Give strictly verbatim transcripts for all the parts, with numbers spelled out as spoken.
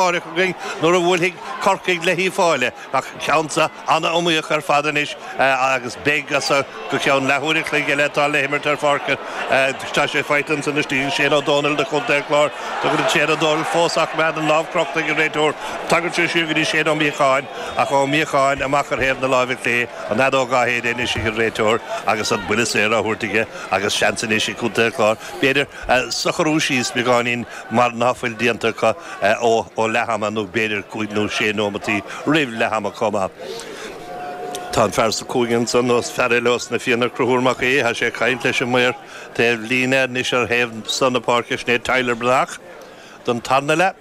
Againn nuair a bhuailfidh Corcaigh le hUíbh Fhailí, ach ceann san an-iomaíoch ar fad anois agus beidh as go ceann leathuair a chloig eile atá le himirt ar pháirc. Tá sé faighte ansan istigh Shane Ó Dónaill do Chontae an Chláir. Tugann Shane Ó Dónaill fós ach meán an lámh crochta ag an réiteoir. Tagann sé siar go dtí Shane Ó Míocháin, ach Ó Míocháin amach ar thaobh na láimhe clé, an fheadóg á shéideadh anois ag an réiteoir agus an buille saor á thabhairt aige, agus seans anois ag Contae an Chláir b'fhéidir socrú síos beagáinín mar ná fuil déanta acu ó ó leath ama, nó b'fhéidir cúig nó sé nóimeataí roimh leath ama chomh maith. Tá an fear sa chúinne ansan, os fear eile os na Fianna, Conchúr Mac Aoidh, tá sé ag caint leis an maor taobh líne anois ar thaobh san na páirce, sin é Tyler Breathnach don tarna leath.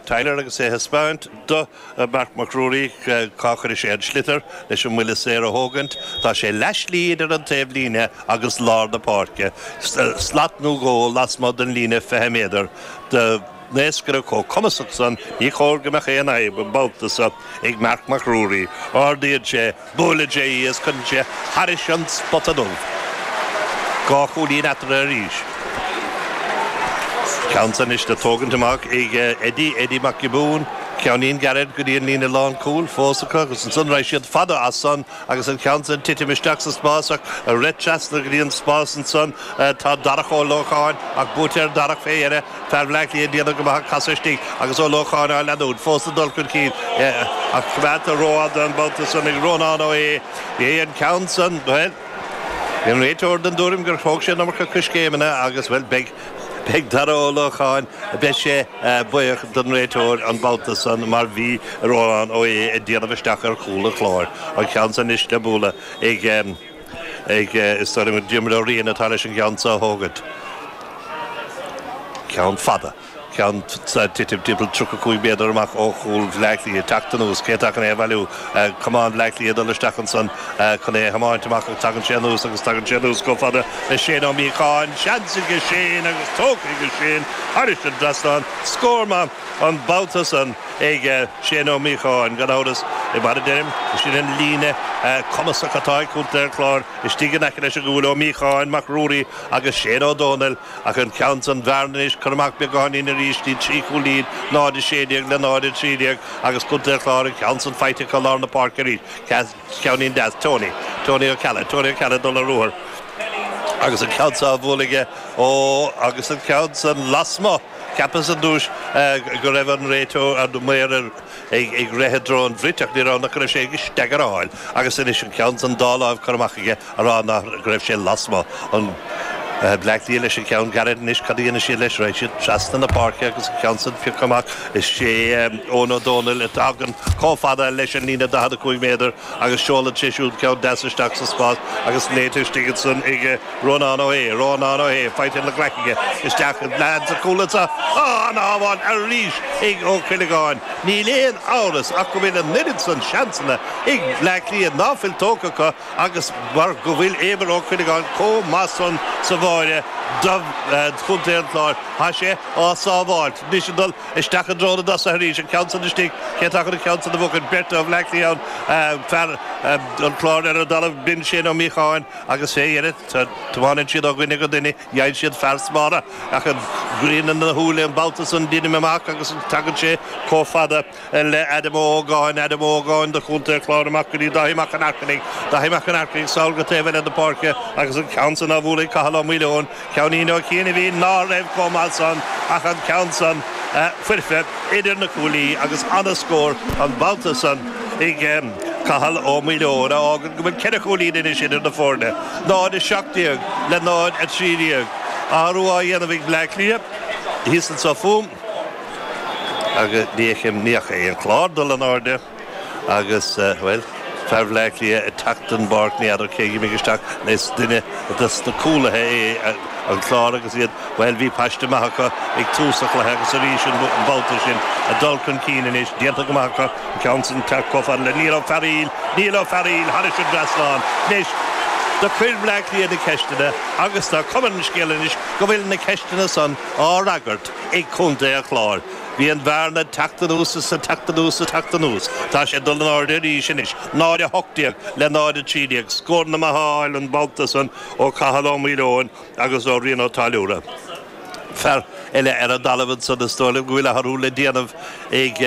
Tyler agus é ag thaispeáint do Marc Mac Ruairí cá chuirfidh sé an sliotar leis an mbuille saor a thógaint. Tá sé leath slí idir an taobh líne agus lár na páirce, slat nó dhó lasmuigh den líne fiche méadar. Do naoscaire chomh cumasach san, ní chóir go mbeadh aon fhadhb an babhta so ag Marc Mac Ruairí. Ardaíonn sé, buaileann sé í is cuireann sé thairis an spota dubh. Dhá chúilín eatarthu arís. Ceann san anois le tógaint amach ag Eddie, Eddie Mac Giobúin, ceainnín gairid go dtí an líne lánchúil fós acu agus ansan raghaidh siad fada as san agus an ceann san titim isteach sa spás ach ag rith trasna go dtí an spás ansan tá Darach Ó Lócháin, ach buaite ar Darach fé dheireadh, fear Bhleá Cliath ag déanamh go maith ach casadh istigh agus Ó Lócháin á leanúint fós ag dul chun cinn ach coimeádta rófhada an babhta san ag Rónán Ó hAodha. Bhí an ceann san, bhuel, bhí an réiteoir den dtuairim gur thóg sé an iomarca coiscéimeanna agus, bhuel, beidh Beidh Dara Ó Lócháin, beidh sé buíoch don réiteoir an babhta san mar bhí Rónán Ó hAodha ag déanamh isteach ar chúl an Chláir. An ceann san anois le bualadh ag, ag, is dóigh liom gur Diarmuid Ó Riain atá leis an gceann so a thógaint. Ceann fada. Ceann ag titim timpeall tríocha cúig méadar amach ó chúl Bhleá Cliath. Teacht anuas, cé atá chun é a bhailiú? Camán Bhleá Cliath ag dul isteach ansan chun é a thiomáint amach ach tagann sé anuas agus tagann sé anuas chomh fada le Shane Ó Míocháin. Seans aige Shane agus tógtha aige Shane thairis an dtrasnán. Scór maith an babhta san ag Shane Ó Míocháin, gan amhras. Mar a deirim, sin an líne cumasach atá ag Contae an Chláir istigh in aice leis an gcúl, Ó Míocháin, Mac Ruairí agus Shane Ó Dónaill. Ach an ceann san bhearna anois curtha amach beagáinín arís dtí trí chúilín, náid a sé déag le náid a trí déag agus Contae an Chláir an ceann san faighte acu lár na páirce arís. Ceainnín deas. Tony. Tony Ó Ceallaigh. Tony Ó Ceallaigh ag dul ar ruathar agus an ceann san á bhualadh aige. Ó agus an ceann san lasmuigh. Cheapas ar dtús go raibh an réiteoir, an maor ar ag rith i dtreo an bhrait ach ní raibh, nach go raibh sé ag staigearáil agus anois an ceann san dá láimh curtha amach aige a rá ná go raibh sé lasmuigh. An Bleá Cliath leis an cheann gairid anois, cad a dhéanfaidh siad leis? Raghaidh siad trasna na páirce agus an ceann san pioctha amach. Is é Eoin Ó Dónaill a thagann chomh fada leis an líne daichead a cúig méadar agus seolann sé siúd ceann deas isteach sa spás agus léite istigh ansan ag Rónán Ó hAodha, Rónán Ó hAodha, faighte ina ghlaic aige isteach i leath sa chúl anseo. Á, an-shábháil arís ag Ó Cuileagáin. Níl aon amhras ach go bhfuil an oiread san seansanna ag Bleá Cliath ná fuil tógtha acu agus mar go bhfuil Éamon Ó Cuileagáin chomh maith san sa bháire do Chontae an Chláir, tá sé á sábháilt. Anois ag dul isteach i dtreo na dtosaithe arís, an ceann san istigh, cé atá chun an ceann san a bhuachan? Beirt ó Bhleá Cliath ann, fear an Chláir ar an dtalamh, b'in Shane Ó Míocháin agus fé dheireadh tiomáineann siad ó dhuine go duine, gheibheann siad fear smára ach an ghrian ina shúile an babhta san deinim amach agus tagann sé chomh fada le Adam Ó hÓgáin, Adam Ó hÓgáin do Chontae an Chláir amach go dtí Dáithí Mac an Airchinnigh, Dáithí Mac an Airchinnigh sall go taobh eile na páirce agus an ceann san á bhualadh ag Cathal Ó Maoileoin, ceainnín ó chianaibhín ná raibh chomh maith san ach an ceann san foirfe idir na cuaillí agus ana-scór an babhta san ag Cathal Ó Maoileoin a fhágann go bhfuil ceithre chúilín anois idir na foirne, náid a seacht déag le náid a trí déag. Athrú á dhéanamh ag Bleá Cliath thíos anso fúm agus ní fheicim, ní fhaca aon chlár dul in airde agus, bhuel, fear Bhleá Cliath ag teacht den bpáirc, ní fheadar cé a d'imigh isteach, is duine dos na cúlaithe é an Clár agus iad, bhuel, bhí paiste maith acu ag tús an chluiche agus arís an babhta sin ag dul chun cinn anois, déanta go maith acu, an ceann san teacht chomh fada le Niall Ó Fearaíl, Niall Ó Fearaíl thairis an dtrasnán. Anois, do chuir Bleá Cliath na ceisteanna agus tá cuma ar an scéal anois go bhfuil na ceisteanna san á fhreagairt ag Contae an Chláir. Bhí an bhearna ag teacht anuas is ag teacht anuas is ag teacht anuas. Tá sé ag dul in airde arís anois, náid a hocht déag le náid a trí déag. Scóranna maithe á fháil an babhta san ó Cathal Ó Maoileoin agus ó Rian Ó Táilliúra. Fear eile ar an dtalamh ansan is dóigh go bhfuil athrú le déanamh ag